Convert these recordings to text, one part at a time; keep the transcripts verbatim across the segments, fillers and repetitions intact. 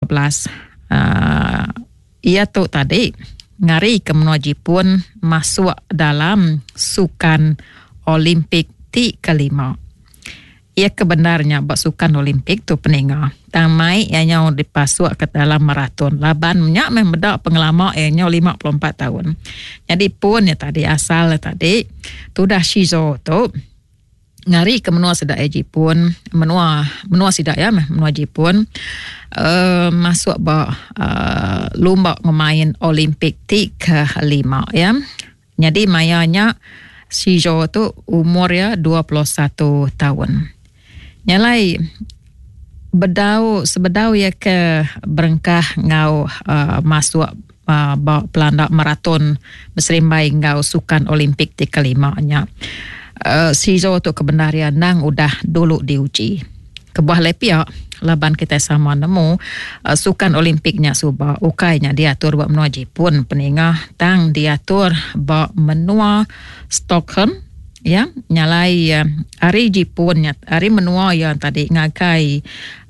Belas uh, iya tu tadi ngari ke menua Jipun masuk dalam Sukan Olimpik ti kelima. Iya kebenarnya ba Sukan Olimpik tu peninga. Tang mai iya nyau dipasuk ke dalam maraton. Laban nya meh meda pengelama iya nyau lima puluh empat tahun. Jadi pun ya tadi asal ya tadi tudah Shizo tu ngari ke menua sida ya Jipun, menua menua sida ya meh menua Jipun uh, masuk ba uh, lumba ngemain Olimpik ti kelima ya. Jadi mayanya Shizo tu umur ya dua puluh satu tahun. Nyalai bedau sebedau ya ke berengkah ngau uh, masuk uh, ba pelanda maraton berserimbai ngau Sukan Olimpik ti kelima nya. Uh, Shizo tu kebenaran nang udah dulu diuji. Kebuah lepia laban kita sama nemu uh, Sukan Olimpiknya suba ukainya diatur ba menua Jepun peninga tang diatur ba menua Stockholm ya. Nyalai uh, hari Jepun nya hari menua yang tadi ngagai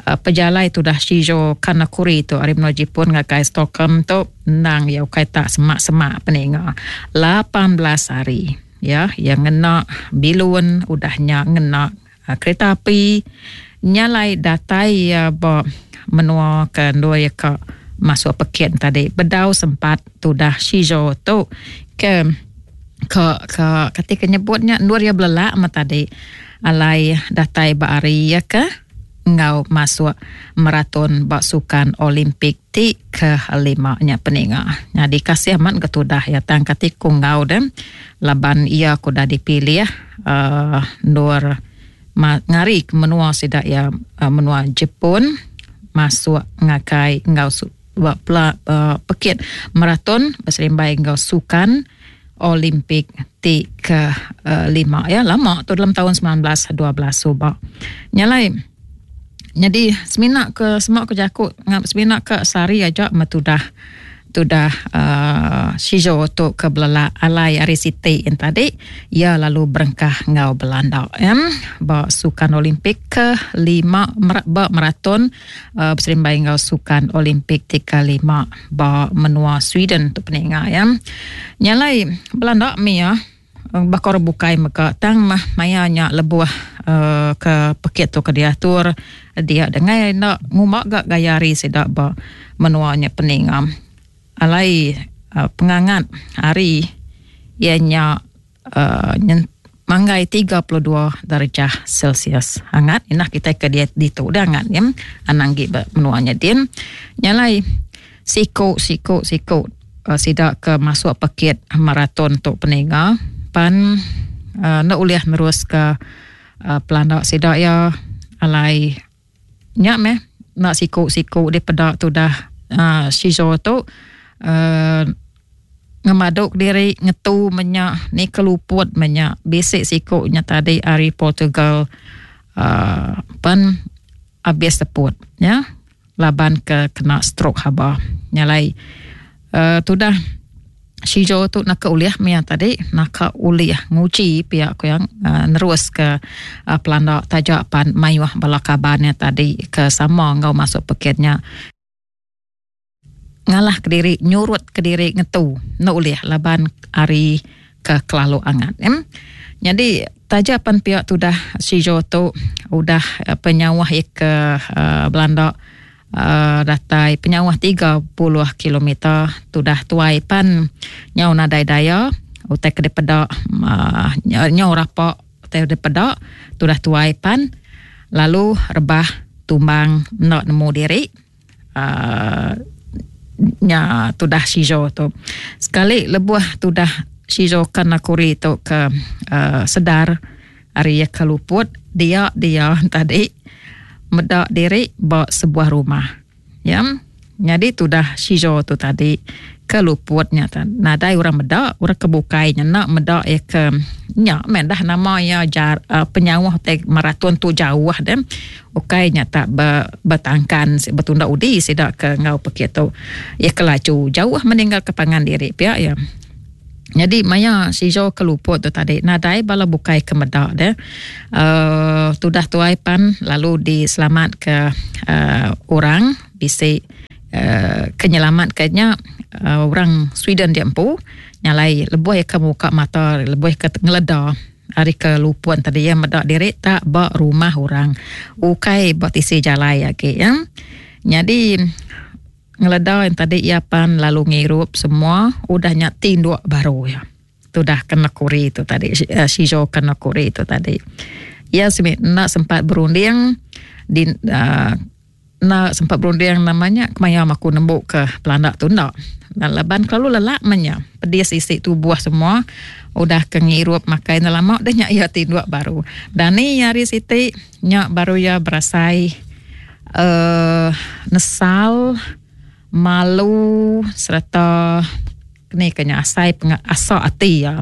uh, pejalai tu dah Shizo Kanakuri tu hari menua Jepun ngagai Stockholm tu nang ya ukai tak semak-semak peninga lapan belas hari ya yang ngena bilun udahnya ngena uh, kereta api nyalai datai ya ba menua ke dua ya ke masuk pekin tadi bedau sempat tudah Shizo tu ke ke ke ketika nyebutnya nur ya belelak ma tadi alai datai ba hari ya ke ngau masuk maraton ba Sukan Olimpik ti ke lima nya peninga. Jadi kasih amat ketudah ya tang katiku ngau dem laban ia ku dah dipilih uh, nur ngari ke menua sida ya uh, menua Jepun masuk ngakai ngau su, ba, pela, uh, pekit maraton berserimbai ngau Sukan Olimpik ti ke uh, lima ya lama tu dalam tahun sembilan belas dua belas suba. Nyalai jadi semina ke semua ke jaku ngap semina ke sehari aja metudah tudah uh, Shizo tu ke belala alai hari Siti yang tadi ia lalu berengkah ngau Belanda ya ba Sukan Olimpik ke lima ba maraton uh, berserimbai ngau Sukan Olimpik ti ke lima ba menua Sweden tu peninga ya. Nyalai Belanda mi ya bakor bukai meka tang mah mayanya lebuh uh, ke pekit tu ke diatur dia dengai nak ngumak gak gaya hari sida ba menuanya peninga. Alai uh, pengangat hari ianya uh, manggai tiga puluh dua darjah Celsius. Hangat inah kita ke dia ditu dah hangat ya. Anang gi ba menuanya din. Nyalai siku siku siku uh, sida ke masuk pekit maraton tu peninga pan uh, nak uliah nerus ke uh, pelanda sida ya alai nyak meh nak siku-siku di pedak tu dah uh, Shizo tu uh, ngemaduk diri ngetu menyak ni keluput menyak bisik sikunya tadi hari Portugal uh, pan habis teput ya laban ke kena stroke haba nyalai uh, tu dah Shizo tu nak ke uliah mia tadi nak ke uliah nguji pihak aku yang uh, nerus ke uh, pelanda tajak pan mayuh bala kabarnya tadi ke sama ngau masuk peketnya ngalah ke diri nyurut ke diri ngetu nak uliah laban hari ke kelalu angat em. Jadi tajak pan pihak tu dah Shizo tu udah uh, penyawah ke uh, Belanda Uh, datai penyawah tiga puluh kilometer tu dah tuai pan nyau nadai daya utai ke depedak uh, nyau rapak utai depedak tu dah tuai pan lalu rebah tumbang nak nemu diri uh, nya tu dah Shizo tu sekali lebuh tu dah Shizo Kanakuri tu ke uh, sedar hari ya keluput dia dia tadi medak diri ba sebuah rumah. Ya. Jadi tu dah Shizo tu tadi keluputnya tan. Nadai orang medak, orang kebukainya nak medak ya ke nya men dah nama ya jar, uh, penyawah te maraton tu jauh dan ukainya tak be, bertangkan bertunda udi sidak ke ngau pekit tu ya kelaju jauh meninggal ke pangan diri pia ya. Jadi maya Shizo keluput tu tadi nadai bala bukai ke medak deh. Uh, tudah tuai pan lalu diselamat ke uh, orang bisi uh, kenyelamat kayaknya uh, orang Sweden dia empu nyalai lebuh ya ke muka mata lebuh ke ngeleda hari ke lupuan tadi ya medak diri tak ba rumah orang ukai ba tisi jalai agi ya. Jadi ngeleda yang tadi ia pan lalu ngirup semua udahnya tinduk baru ya. Tu dah kena kuri tu tadi uh, Shizo kena kuri tu tadi. Ia semit nak sempat berunding di uh, nak sempat berunding namanya kemaya aku nembuk ke Belanda tu nak. Dan leban kalau lelak menya pedis isi tubuh semua udah ke ngirup makai lama dah nyak ia tinduk baru. Dan ni hari siti nyak baru ia berasai uh, nesal malu serta ni kena asai asa ati ya.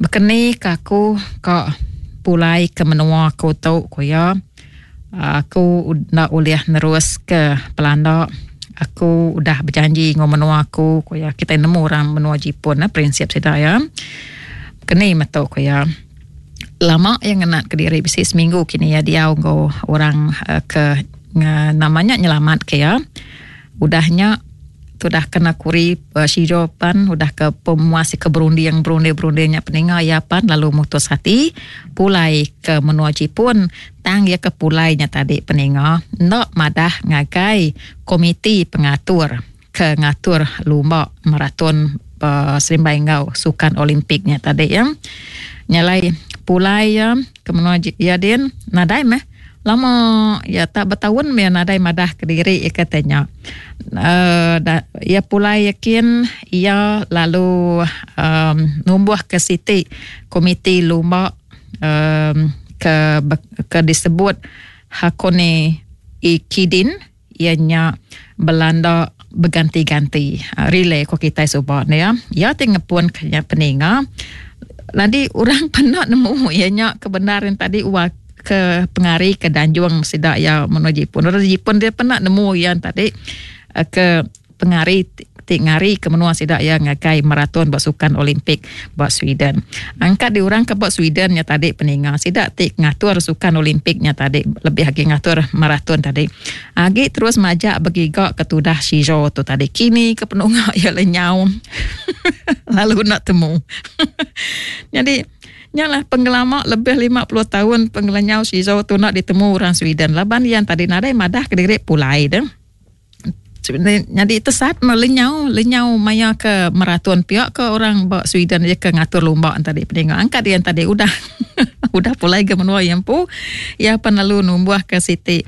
Bekeni ke aku ka pulai ke menua aku tu ku ya. Aku nak uliah nerus ke Belanda. Aku udah berjanji ngau menua aku ku ya. Kita nemu orang menua Jepun nah, prinsip seda ya. Keni metu ku ya. Lama yang ngenat ke diri bisi seminggu kini ya dia ngau orang uh, ke nge, namanya nyelamat ke ya. Udahnya tu dah kena kuri uh, Shizo pan udah ke pemuas ke berunding berunding berundingnya peninga ya pan lalu mutus hati pulai ke menua Jepun tang ya ke pulainya tadi peninga nak madah ngagai komiti pengatur ke ngatur lumba maraton uh, Serimbai Ngau Sukan Olimpiknya tadi ya nyalai pulai ya ke menua ya din nadai meh lama ya tak bertahun ya nadai madah ke diri ya katanya. Uh, da, ya pulai yakin ia lalu um, numbuh ke siti komiti lumba um, ke ke disebut Hakone Ikidin ianya Belanda berganti-ganti uh, relay ko kita subak ni ya. Ya tinggal pun kenya peninga. Nanti orang pernah nemu ianya kebenaran tadi uak ke pengari ke Danjuang sidak ya menuju Jepun. Orang Jepun dia pernah nemu yang tadi ke pengari ti ngari ke menua sidak ya ngagai maraton buat sukan Olimpik buat Sweden. Angkat di orang ke buat Sweden nya tadi peninga sidak ti ngatur sukan Olimpiknya tadi lebih lagi ngatur maraton tadi. Agi terus majak bergigak ke tudah Shizo tu tadi. Kini ke penungak ya lenyau. Lalu nak temu. Jadi nyalah penggelama lebih lima puluh tahun penggelenyau Shizo tu nak ditemu orang Sweden. Laban yang tadi nadai madah ke diri pulai dah. Jadi tersat melenyau, lenyau maya ke maraton pihak ke orang bak Sweden dia ke ngatur lumba tadi pendengar. Angkat dia tadi udah udah pulai ke menua yang pu ya penalu numbuh ke siti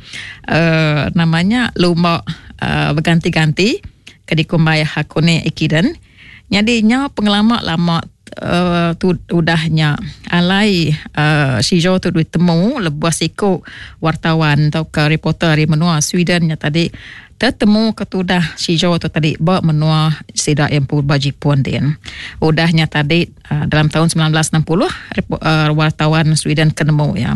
uh, namanya lumba uh, berganti-ganti ke dikumbai Hakone Ikiden. Jadi nya penggelama lama Uh, tu udahnya alai uh, Shizo tu ditemu lebuh siku wartawan atau ke reporter dari menua Sweden nya tadi tertemu ketudah Shizo tu tadi ba menua sidak yang pun ba Jepun din. Udahnya tadi uh, dalam tahun sembilan belas enam puluh uh, wartawan Sweden ketemu ya.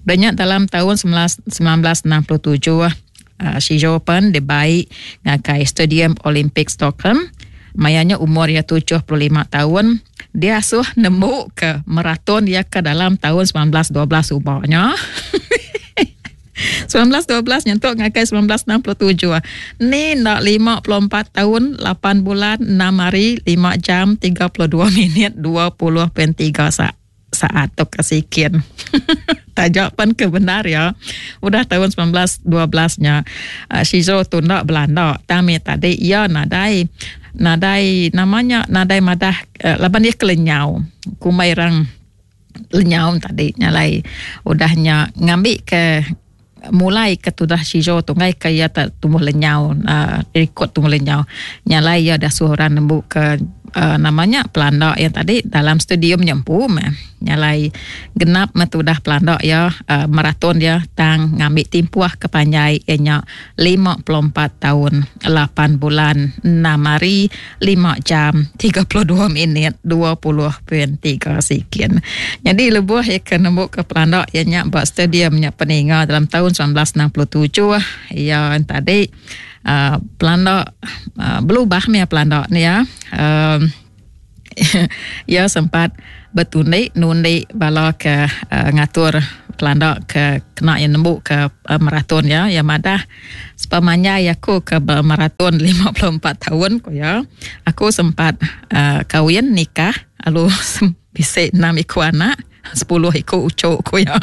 Udahnya dalam tahun sembilan belas enam puluh tujuh uh, Shizo pun dibaik ngagai Stadium Olympic Stockholm. Mayanya umur ya tujuh puluh lima tahun. Dia asuh nemu ke maraton dia ke dalam tahun sembilan belas dua belas ubahnya. sembilan belas dua belas nyentuk ngakai sembilan belas enam puluh tujuh. Ni nak lima puluh empat tahun, lapan bulan, enam hari, lima jam, tiga puluh dua minit, dua puluh perpuluhan tiga saat. Saat tu kesikian. Tajak pan kebenar ya. Udah tahun sembilan belas dua belas-nya uh, Shizo tu nak Belanda. Tami tadi ya nadai nadai namanya nadai madah uh, laban dia kelenyau. Kumai rang lenyau tadi nyalai udahnya ngambil ke mulai ke tudah Shizo tu ngai ke ia tak tumbuh lenyau uh, rekod tumbuh lenyau. Nyalai ia dah suruh orang nembuk ke Uh, namanya pelanda yang tadi dalam stadium nyempu meh. Nyalai genap metudah pelanda ya uh, maraton dia tang ngambil timpuah kepanjai ianya lima puluh empat tahun lapan bulan enam hari lima jam tiga puluh dua minit dua puluh perpuluhan tiga sekian. Jadi lebuh ya ke nembuk ke pelanda ianya buat stadiumnya peninga dalam tahun sembilan belas enam puluh tujuh ya tadi Uh, pelanda uh, berubah meh pelanda ni ya. Uh, ya sempat bertundik nundi bala ke uh, ngatur pelanda ke kena iya nembu ke uh, maraton ya. Ya madah sepemanjai aku ke maraton lima puluh empat tahun ko ya. Aku sempat uh, kawin nikah lalu bisi enam iku anak, sepuluh iku ucuk ko ya.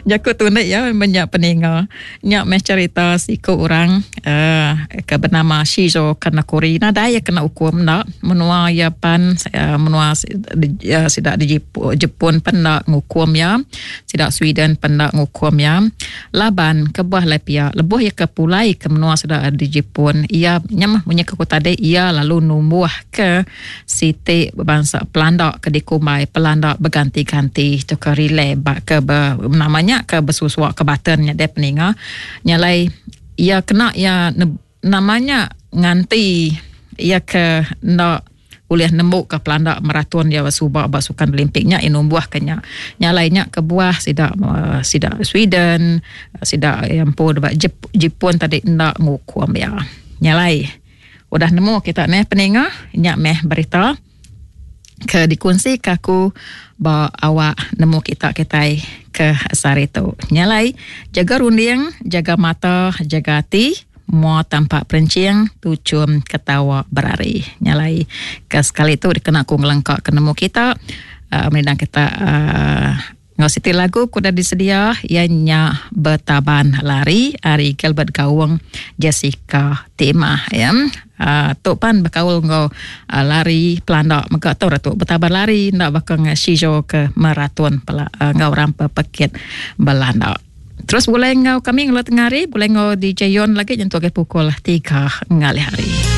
Jaku tunik ya banyak peninga. Nyak meh cerita siku orang uh, ke bernama Shizo Kanakuri. Nadai ya kena hukum nak menua Japan uh, menua uh, sidak di Jepun pendak ngukum ya. Sidak Sweden pendak ngukum ya. Laban kebuah lepia lebuh ya ke pulai ke menua sidak di Jepun. Ia nyamah punya ke kota de ia lalu numbuh ke siti bangsa pelandak ke dikumbai pelandak berganti-ganti tu ke relay bak ke ber, namanya ke bersusuak ke batennya dia peninga nyalai ia kena ia ne, namanya nganti ia ke nak boleh nembuk ke pelandak maraton dia subak basukan Olimpiknya inumbuah kenya nyalainya ke buah sidak uh, sidak Sweden sidak yang pun Jep, Jepun tadi nak ngukum ya nyalai udah nemu kita meh peninga nyak meh berita ke dikunsi ke aku ba awak nemu kita kitai ke sehari tu. Nyalai jaga runding, jaga mata, jaga hati, mua tampak perencing, tucum ketawa berari. Nyalai ke sekali tu dikena aku ngelengkak ke nemu kita, uh, menindang kita uh, ngau siti lagu ku dah disedia ianya Bertaban Lari ari Gilbert Gawang Jessica Timah ya. Uh, tok pan berkaul ngau uh, lari pelandak mega tau ratuk bertaban lari ndak bakal ngau Shizo ke maraton pela, uh, ngau rampa pekit Belanda. Terus boleh ngau kami ngelo tengah hari, boleh ngau D J Yon lagi nyentuh ke pukul tiga ngalih hari.